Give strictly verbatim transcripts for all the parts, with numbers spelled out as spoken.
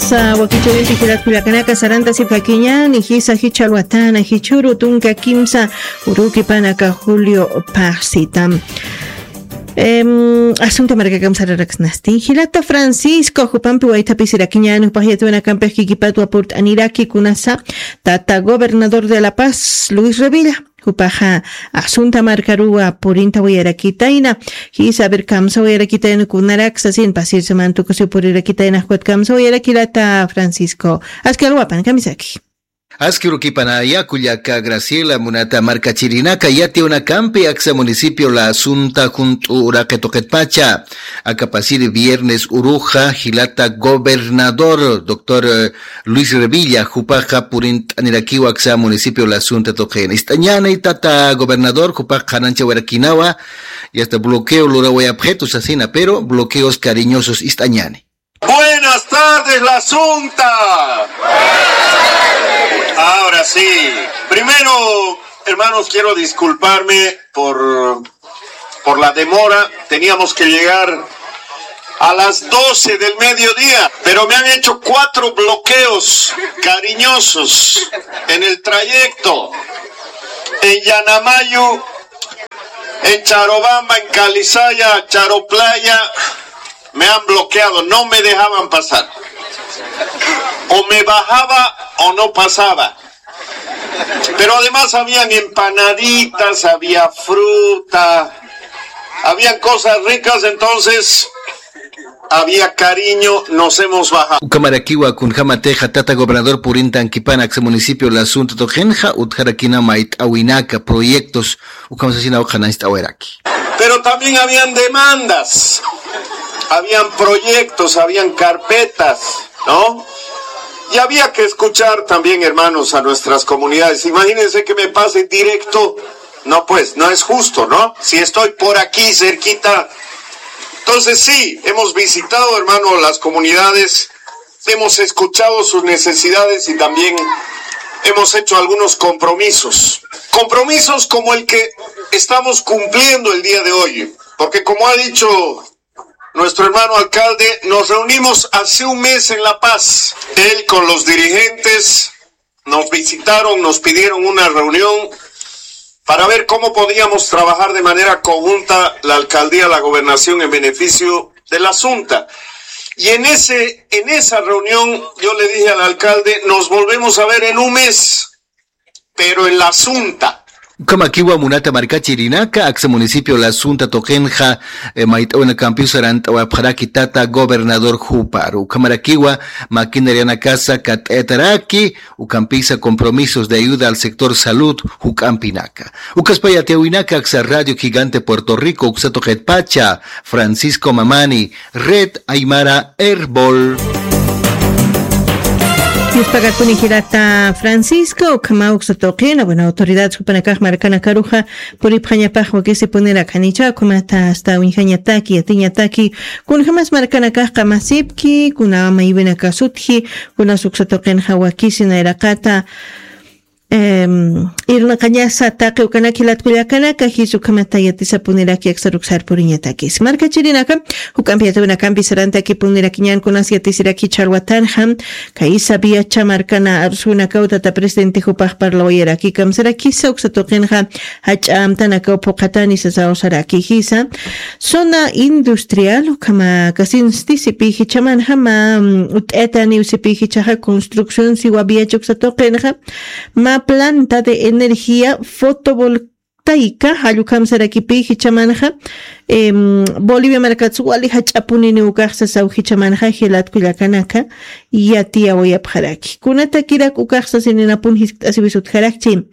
Sa wakichawinti jilat kullakanaka, saranta sipkakiñani jisa jichha alwatana jichhuru tunka kimsa urukipanaka julio pajsita. Em, asunta markakam sararaksnasti jilata Francisco jupampi waythapisirakiñani jupaj yatiwanakampi jikipatwa purt'aniraki kunasa tata gobernador de La Paz Luis Revilla. Jupaxa asunta markaruwa purinta wayarakitayna. Jisa a ver kamsa wayarakitayna kunaraksa sin pasirsaman tukusi purirakitayna jukat kamsa wayarakilata Francisco. Aski alwapan kamisaki. Aski urukipanaya kullaka Graciela munata markachirinaka yatiwanakampi aksa municipio la asunta junt'u uraqi tuqitpacha. Akapasiri viernes uruxa jilata gobernador doctor Luis Revilla jupaxa purint'anirakiwa aksa municipio la asunta tuqin ist'añani tata gobernador jupax qhananchawarakinawa. Y hasta bloqueo lurawayapxitu sasina pero bloqueos cariñosos ist'añani. Buenas tardes, la Asunta. Ahora sí. Primero, hermanos, quiero disculparme por, por la demora. Teníamos que llegar a las doce del mediodía, pero me han hecho cuatro bloqueos cariñosos en el trayecto. En Yanamayu, en Charobamba, en Calizaya, Charo Playa, me han bloqueado, no me dejaban pasar. O me bajaba o no pasaba. Pero además habían empanaditas, había fruta, habían cosas ricas, entonces había cariño, nos hemos bajado. Ukamarakiwa kunjamatixa tata gobernador purintankipan aksa municipio la asunto tuqinxa utjarakina mayt'awinaka proyectos ukamasasina uqanañst'awiraki. Pero también habían demandas, habían proyectos, habían carpetas, ¿no? Y había que escuchar también, hermanos, a nuestras comunidades. Imagínense que me pase directo. No, pues, no es justo, ¿no? Si estoy por aquí cerquita. Entonces, sí, hemos visitado, hermano, las comunidades, hemos escuchado sus necesidades y también hemos hecho algunos compromisos. Compromisos como el que estamos cumpliendo el día de hoy. Porque como ha dicho nuestro hermano alcalde, nos reunimos hace un mes en La Paz. Él con los dirigentes nos visitaron, nos pidieron una reunión para ver cómo podíamos trabajar de manera conjunta la alcaldía, la gobernación en beneficio de la Asunta. Y en ese, en esa reunión yo le dije al alcalde, nos volvemos a ver en un mes, pero en la Asunta. Ukhamakiwa munata markachirinaka aksa municipio la Asunta tuqinxa, eh, mayt'awinakampiw sarant'awapxaraki tata gobernador juparu. Ukhamarakiwa maquinarianakasa kat'ayataraki, ukampisa compromisos de ayuda al sector salud juk'ampinaka. Ukaspaya tiyawinaka aksa Radio Gigante Puerto Rico uksa tuqitpacha, Francisco Mamani, Red Aymara Erbol. Yuspagakuni jirata Francisco, ukhama uksa tuqina, bueno, autoridad jupanakax markanakaruxa puripxañapax wakisi punira khanicha, ukhamata hasta uñjañataki, yatiñataki, kunjamas markanakax qamasipki, kuna maywinaka sutji, kuna uksa tuqinxa wakisi nayraqata, Em, irnaqañasa taqi ukanaki latkullakanaka, jis ukhamata yatisapuniraki aksar uksar puriñatakis. Markachirinaka, juk'ampi yatawinakampi sarantakipunirakiñan kunas yatisiraki ch'alwatanxa, kaysa viacha markana arsuwinakaw tata presidente jupax parlawayaraki kamsarakisa uksa tuqinxa, jach'a amtanakaw phuqatani sasaw saraki jisa. Zona industrial, ukhama kasinsti sipi jichhamanxa mä, mm, ut'ataniw sipi jichhaxa construcción siwa viacha uksa tuqinxa, mä planta de energía fotovoltaica, jall ukham sarakipi jichhamanxa, em, Bolivia markats wali jach'apuniniw ukax sasaw jichhamanxa, jilat kullakanaka, yatiyawayapxaraki. Kunatakirak ukax sasininapun jiskt'asiwis utjarakchi.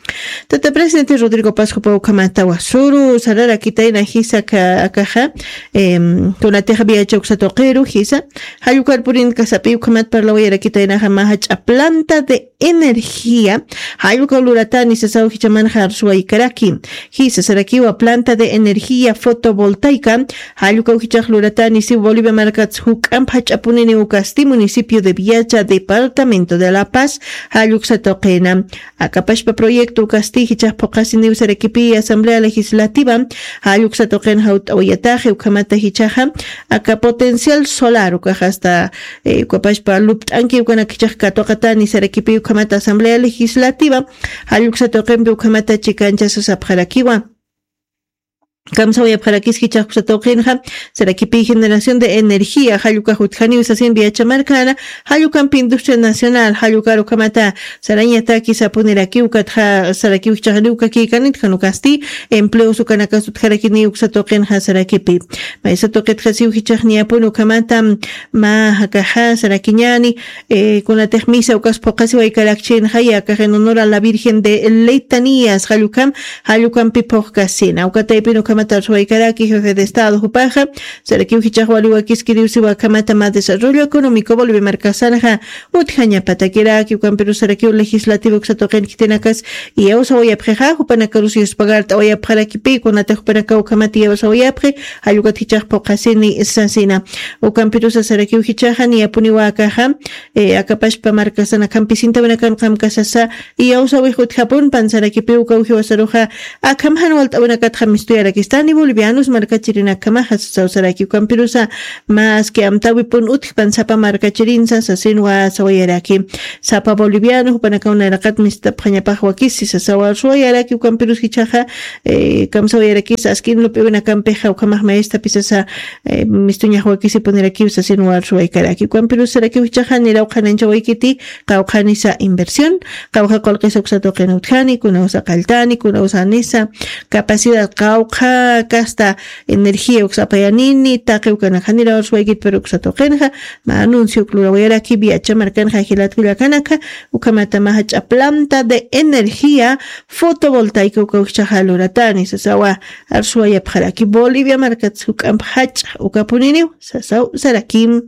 Tata presidente Rodrigo Paz jupa ukhamata wasuru, sararakitayna jisa ka-, akaxa, em, kunatixa viacha uksa tuqiru jisa, jall ukar purinkasapi ukhamat parlawayarakitaynaxa mä jach'a planta de Energía, jallukaw luratani sasaw jichamanxa arsuwaykaraki. Jisa sarakiwa planta de energía fotovoltaica, jallukaw jichax luratani si Bolivia markats juk'amp jach'apunini ukasti municipio de Viacha, departamento de La Paz, jalluksa tuqina. Akapashpa proyecto ukasti jichax phuqasiniw sarakipi asamblea legislativa, jalluksa tuqin jawt'awayataxi ukhamata jichaxa aka potencial solar ukax hasta ukapashpa lupt'anki ukanak jichax katuqatani sarakipi ukhamata asamblea legislativa, jalluksa tuqinpi ukhamata chikanchasasapxarakiwa. Kamsawayapxarakis jichax uksa tuqinxa, sarakipi generación de energía jallukax utjaniw sasin viachamarkana, jallukampi industria nacional jallukar ukhamata sarañataki sapunirakiw katxa sarakiw jichaxniw kakikanit janukasti empleos ukanakas utjarakiniw uksa tuqinxa sarakipi. Maysa tuqitxasiw jichaxniyapun ukhamata mä jakaxa sarakiñani, kunatix misa ukas phuqasiwaykarakchinxa yakax en honor a la virgen de letanías jallukam, jallukampi phuqkasina ukataypin ukhamata arsuwaykaraki jefe de estado jupaxa, sarakiw jichax waliwakiskiriw siwa akhamata mä desarrollo económico bolivia markasanxa utjañapatakiraki ukampirus sarakiw legislativa uksa tuqin khitinakas iyawsawayapxixa jupanakarus yuspagart'awayapxarakipi kunatix jupanakaw ukhamata iyawsawayapxi, jallukat jichax phuqasini sasina. Ukampirusa sarakiw jichaxa niyapuniwa akaxa akapashpa markasana kampesintawinakan qamkasasa iyawsawix utjapun pansarakipiw ukaw jiwasaruxa akham jan walt'awinakatxa mistuyarakistani bolivianos markachirinakamaxa sasaw saraki ukampirusa maski amtawipun utjpan sapa markachirinsa sasinwa sawayaraki. Sapa boliviano jupanakaw nayraqat mistapxañapax wakisi sasaw arsuwayaraki ukampirus jichaxa kamsawayarakis askin lup'iwinakampixa ukhamax maystapisasa mistuñax wakisipunirakiw sasin warsuwaykaraki ukampirus sarakiw jichaxa niraw qhananchawaykiti. Qawqhanisa inversión, qawqha qullqisa uksa tuqina utjani kunawsa qalltani kunawsa anisa capacidad qawqha kasta energía uksa apayanini taqi ukanakxa niraw warsuwaykiti pero uksa tuqinxa mä anuncio uklurawayaraki viacha markanxa jilatkullakanakxa. Ukhamatamaxa ch'aplanta de energía fotovoltaica ukawkchaxa luratani sasawa arsuwayapxaraki bolivia markatsa juk'amp jach'a ukapuniniw sasaw sarakim.